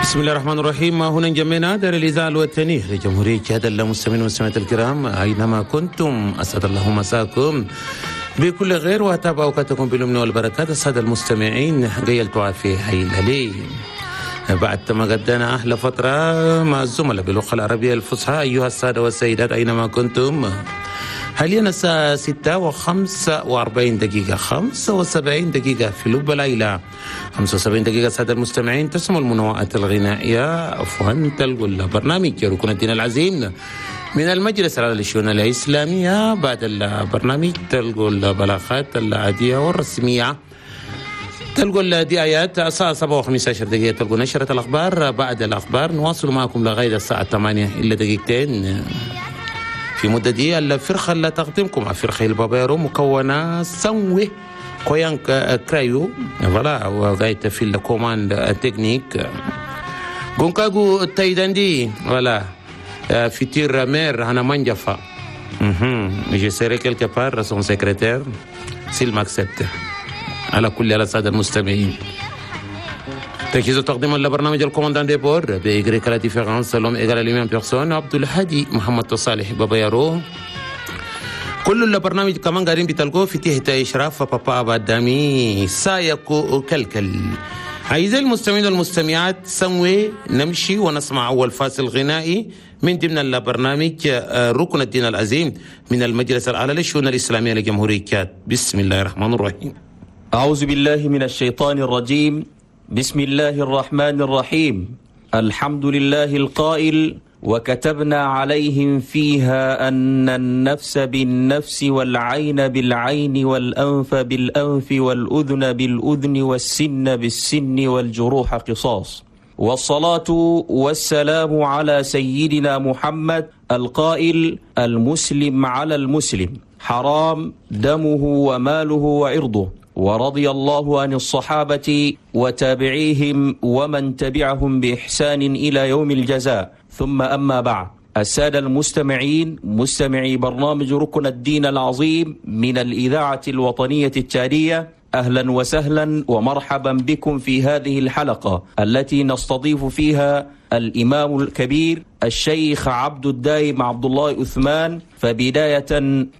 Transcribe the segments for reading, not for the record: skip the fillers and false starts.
بسم الله الرحمن الرحيم. هنا جمعنا دار الإذاعة الوطنية لجمهورية تشاد. المستمعين والمستمعات الكرام أينما كنتم، أسعد الله مساكم بكل خير وأتابع أوقاتكم بالأمن والبركات. السادة المستمعين قيلتوا في حي الهلي بعد ما قدنا أحلى فترة مع الزملاء باللغة العربية الفصحى. أيها السادة والسيدات أينما كنتم، حاليا الساعة 6:45 75 دقيقة في لب العيلة، 75 دقيقة. سادة المستمعين تسمع المنوعات الغنائية، عفوا تلقوا البرنامج ركن الدين العظيم من المجلس الأعلى للشؤون الإسلامية. بعد البرنامج تلقوا البلاغات العادية والرسمية، تلقوا الدعايات. الساعة 7:15 تلقوا نشرة الأخبار. بعد الأخبار نواصل معكم لغاية الساعة 7:58. في مدة دي الفرقة اللي تقدمكم فرقة البابيرو مكونة سنوي كويانك كرايو voilà وغاية في ال commande technique غونكاغو تايداندي voilà futur maire هنا منجفا. Je serai quelque part son secrétaire s'il m'accepte. على كل على السادة المستمعين، تجهيز تقديم لبرنامج ال commandant de bord بإغريك la différence l'homme égal à lui-même personne عبد الهادي محمد صالح بابا. كل البرنامج كمان قاعدين بتلقوه في تحت إشراف بابا أبادامي سايكو كلكل. أعزائي المستمعين والمستمعات، سنوي نمشي ونسمع أول فاصل غنائي من ضمن البرنامج ركن الدين العظيم من المجلس الأعلى للشؤون الإسلامية لجمهورية تشاد. بسم الله الرحمن الرحيم. أعوذ بالله من الشيطان الرجيم. بسم الله الرحمن الرحيم. الحمد لله القائل: وكتبنا عليهم فيها أن النفس بالنفس والعين بالعين والأنف بالأنف والأذن بالأذن والسن بالسن والجروح قصاص. والصلاة والسلام على سيدنا محمد القائل: المسلم على المسلم حرام دمه وماله وعرضه. ورضي الله عن الصحابة وتابعيهم ومن تبعهم بإحسان إلى يوم الجزاء. ثم أما بعد، السادة المستمعين مستمعي برنامج ركن الدين العظيم من الإذاعة الوطنية التشادية، أهلا وسهلا ومرحبا بكم في هذه الحلقة التي نستضيف فيها الإمام الكبير الشيخ عبد الدايم عبد الله عثمان. فبداية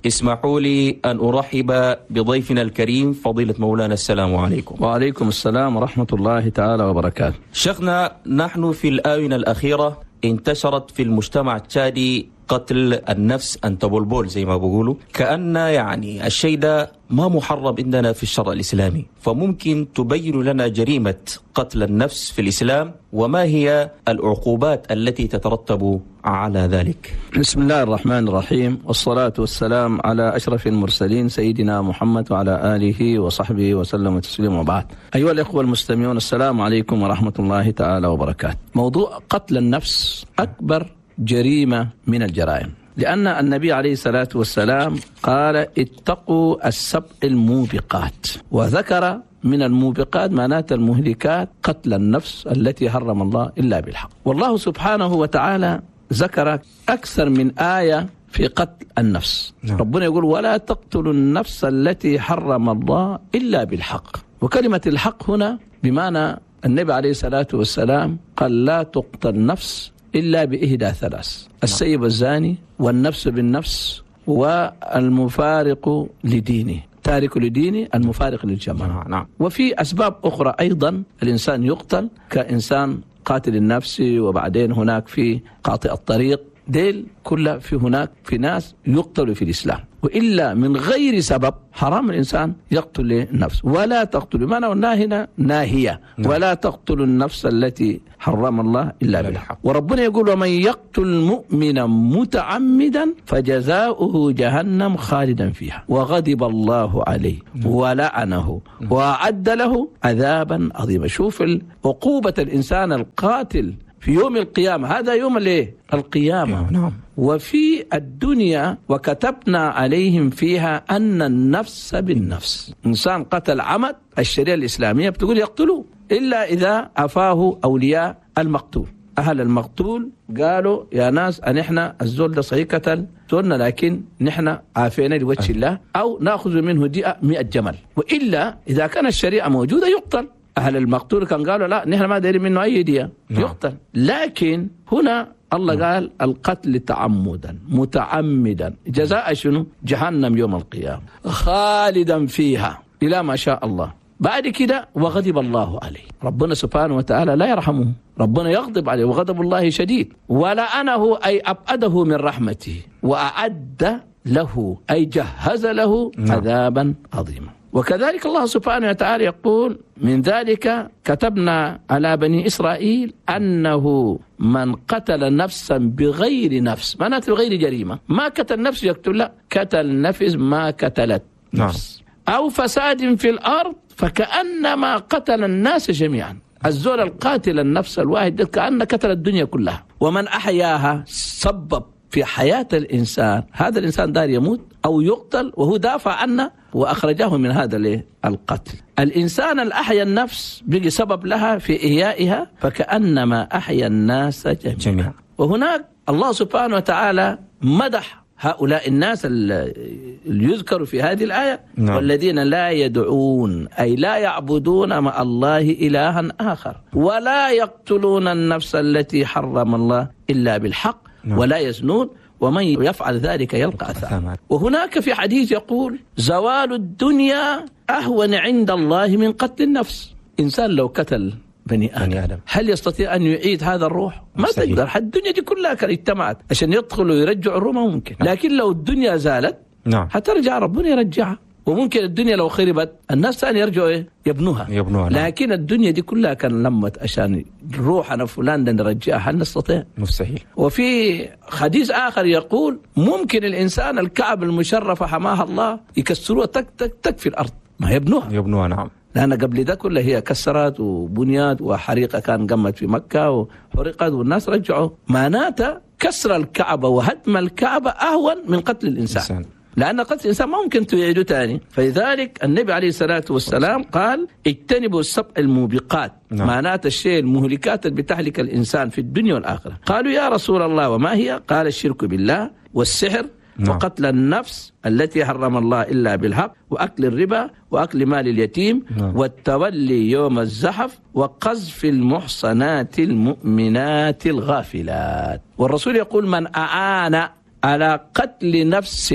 اسمحوا لي أن أرحب بضيفنا الكريم فضيلة مولانا. السلام عليكم. وعليكم السلام ورحمة الله تعالى وبركاته. شيخنا، نحن في الآونة الأخيرة انتشرت في المجتمع التشادي قتل النفس أن تبولبول زي ما بيقولوا، كأن يعني الشيء ده ما محرم عندنا في الشرع الإسلامي، فممكن تبين لنا جريمة قتل النفس في الإسلام وما هي العقوبات التي تترتب على ذلك؟ بسم الله الرحمن الرحيم، والصلاة والسلام على أشرف المرسلين سيدنا محمد وعلى آله وصحبه وسلم تسليما، وبعد. أيها الإخوة المستمعون، السلام عليكم ورحمة الله تعالى وبركاته. موضوع قتل النفس أكبر جريمة من الجرائم، لأن النبي عليه الصلاة والسلام قال: اتقوا السبع الموبقات، وذكر من الموبقات معنات المهلكات قتل النفس التي حرم الله إلا بالحق. والله سبحانه وتعالى ذكر أكثر من آية في قتل النفس. نعم. ربنا يقول: ولا تقتلوا النفس التي حرم الله إلا بالحق. وكلمة الحق هنا بمعنى النبي عليه الصلاة والسلام قال: لا تقتل نفس إلا بإهدى ثلاث: السيب الزاني، والنفس بالنفس، والمفارق لدينه، تارك لدينه، المفارق للجماعة. نعم. وفي أسباب أخرى أيضا الإنسان يقتل، كإنسان قاتل النفس، وبعدين هناك في قاطع الطريق، ديل كلها في هناك في ناس يقتلوا في الإسلام، وإلا من غير سبب حرام الإنسان يقتل النفس. ولا تقتلوا، ما قلنا هنا ناهية، ولا تقتلوا النفس التي حرم الله إلا بالحق. وربنا يقول: ومن يقتل مؤمنا متعمدا فجزاؤه جهنم خالدا فيها وغضب الله عليه ولعنه وأعد له عذابا عظيما. شوف عقوبة الإنسان القاتل في يوم القيامة، هذا يوم الايه؟ القيامة. نعم. وفي الدنيا وكتبنا عليهم فيها أن النفس بالنفس. إنسان قتل عمد، الشريعة الإسلامية بتقول يقتلوه، إلا إذا عفاه أولياء المقتول. أهل المقتول قالوا يا ناس أن إحنا الزول ده صحيح قتل زولنا، لكن نحن عافينا لوجه الله، أو نأخذ منه دية 100 جمل. وإلا إذا كان الشريعة موجودة يقتل. أهل المقتول كان قالوا لا نحن ما دايرين منه أي دية يقتل. لكن هنا الله قال القتل تعمدا متعمدا جزاء شنو؟ جهنم يوم القيامة خالدا فيها إلى ما شاء الله. بعد كده وغضب الله عليه، ربنا سبحانه وتعالى لا يرحمه، ربنا يغضب عليه وغضب الله شديد. ولعنه أي أبعده من رحمته، وأعد له أي جهز له عذابا عظيما. وكذلك الله سبحانه وتعالى يقول من ذلك كتبنا على بني إسرائيل أنه من قتل نفسا بغير نفس، معناته بغير جريمة، ما قتل نفس يقتل، لا قتل نفس ما قتلت نفس، أو فساد في الأرض فكأنما قتل الناس جميعا. الزول القاتل النفس الواحد كأن قتل الدنيا كلها. ومن أحياها سبب في حياة الإنسان، هذا الإنسان دار يموت أو يقتل وهو دافع عنه وأخرجه من هذا القتل. الإنسان الأحيا النفس بقي سبب لها في إحيائها فكأنما أحيا الناس جميعا. وهناك الله سبحانه وتعالى مدح هؤلاء الناس اللي يذكروا في هذه الآية. نعم. والذين لا يدعون أي لا يعبدون مع الله إلها آخر ولا يقتلون النفس التي حرم الله إلا بالحق. نعم. ولا يزنون ومن يفعل ذلك يلقى أثاما. وهناك في حديث يقول زوال الدنيا أهون عند الله من قتل النفس. إنسان لو قتل بني آدم هل يستطيع أن يعيد هذا الروح؟ ما تقدر. الدنيا دي كلها كانت اجتمعت عشان يدخلوا ويرجعوا الروح، ما ممكن. لكن لو الدنيا زالت حترجع، ربنا يرجعها. وممكن الدنيا لو خربت الناس ثاني يرجعوا يبنوها. لكن الدنيا دي كلها كان لمت عشان روح أنا فلان ده نرجعها، هل نستطيع؟ مستحيل. وفي حديث آخر يقول ممكن الإنسان الكعب المشرفة حماها الله يكسروها تك تك تك في الأرض، ما يبنوها. نعم. لأن قبل ده كله هي كسرت وبنيات وحريقة كان قمت في مكة وحرقت والناس رجعوا. معناته كسر الكعبة وهدم الكعبة أهون من قتل الإنسان. لأن قتل الإنسان ما ممكن تعيده تاني. فلذلك النبي عليه الصلاة والسلام قال اجتنبوا السبع الموبقات. نعم. معناته الشيء المهلكات اللي بتهلك الإنسان في الدنيا والآخرة. قالوا يا رسول الله وما هي؟ قال الشرك بالله والسحر. نعم. وقتل النفس التي حرم الله إلا بالحق، وأكل الربا، وأكل مال اليتيم. نعم. والتولي يوم الزحف، وقذف المحصنات المؤمنات الغافلات. والرسول يقول من أعان على قتل نفس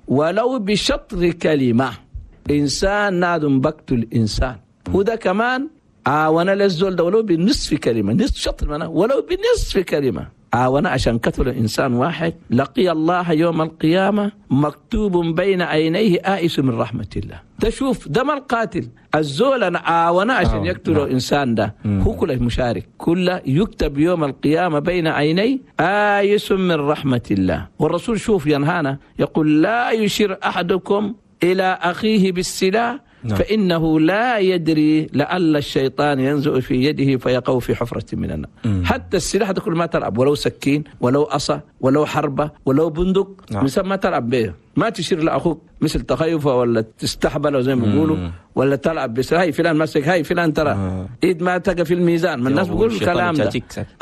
ولو بشطر كلمة، إنسان نادم بقتل إنسان، وده كمان عاون للزول ده ولو بنصف كلمة، نصف شطر منه ولو بنصف كلمة، عاون عشان قتل إنسان واحد، لقي الله يوم القيامة مكتوب بين عينيه آئس من رحمة الله. تشوف ده ما القاتل، الزول عاون عشان يقتل إنسان ده هو كله مشارك، كله يكتب يوم القيامة بين عينيه آيس من رحمة الله. والرسول شوف ينهانا يقول لا يشير أحدكم إلى أخيه بالسلاح. نعم. فإنه لا يدري لعل الشيطان ينزع في يده فيقع في حفرة من النار. حتى السلاح ده كل ما تلعب، ولو سكين ولو عصا ولو حربة ولو بندق. نعم. مثل ما تلعب به، ما تشير لأخوك مثل تخيفه ولا تستحبله زي ما بيقولوا، ولا تلعب بس هاي فلان مسك هاي فلان ترى ايد ما تقى في الميزان. ما الناس بيقولوا الكلام ده.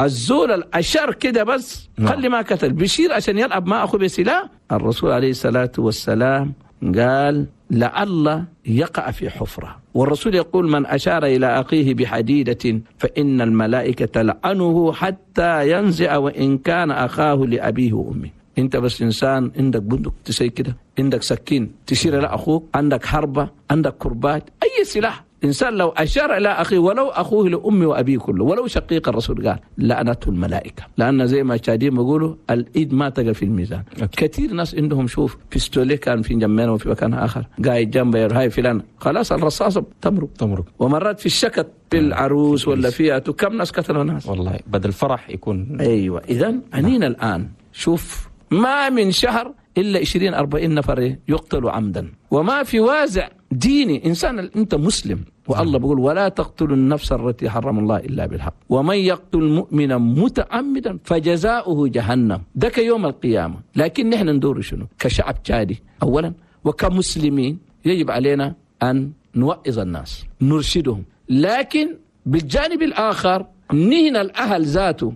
الزول الأشر كده بس. نعم. خلي ما قتل بيشير عشان يلعب مع أخوه بسلاح. الرسول عليه الصلاة والسلام قال لعل يقع في حفرة. والرسول يقول من أشار إلى أخيه بحديدة فإن الملائكة تلعنه حتى ينزع وإن كان أخاه لأبيه وأمه. أنت بس إنسان عندك بندق تسي كده، عندك سكين تشير إلى أخوك، عندك حربة، عندك كربات، أي سلاح. إنسان لو أشار إلى أخيه ولو أخوه لأمه وأبيه كله ولو شقيق، الرسول قال لعنته الملائكة. لأن زي ما الشادين بيقولوا الإيد ما تقل في الميزان. كثير ناس عندهم شوف بيستولي كان في جنبنا وفي مكان آخر قاعد جنبه هاي فلان، خلاص الرصاصة تمرق. ومرات في الشكت في العروس ولا فيها كم ناس قتلوا ناس والله بدل فرح يكون. أيوة. إذن عنينا الآن شوف ما من شهر إلا 20-40 نفر يقتلوا عمدا، وما في وازع ديني. إنسان أنت مسلم والله بيقول ولا تقتلوا النفس التي حرم الله إلا بالحق ومن يقتل مؤمنا متعمدا فجزاؤه جهنم، ده كيوم القيامة. لكن نحن ندور شنو كشعب تشادي أولا وكمسلمين؟ يجب علينا أن نوعظ الناس نرشدهم، لكن بالجانب الآخر نهنا الأهل ذاته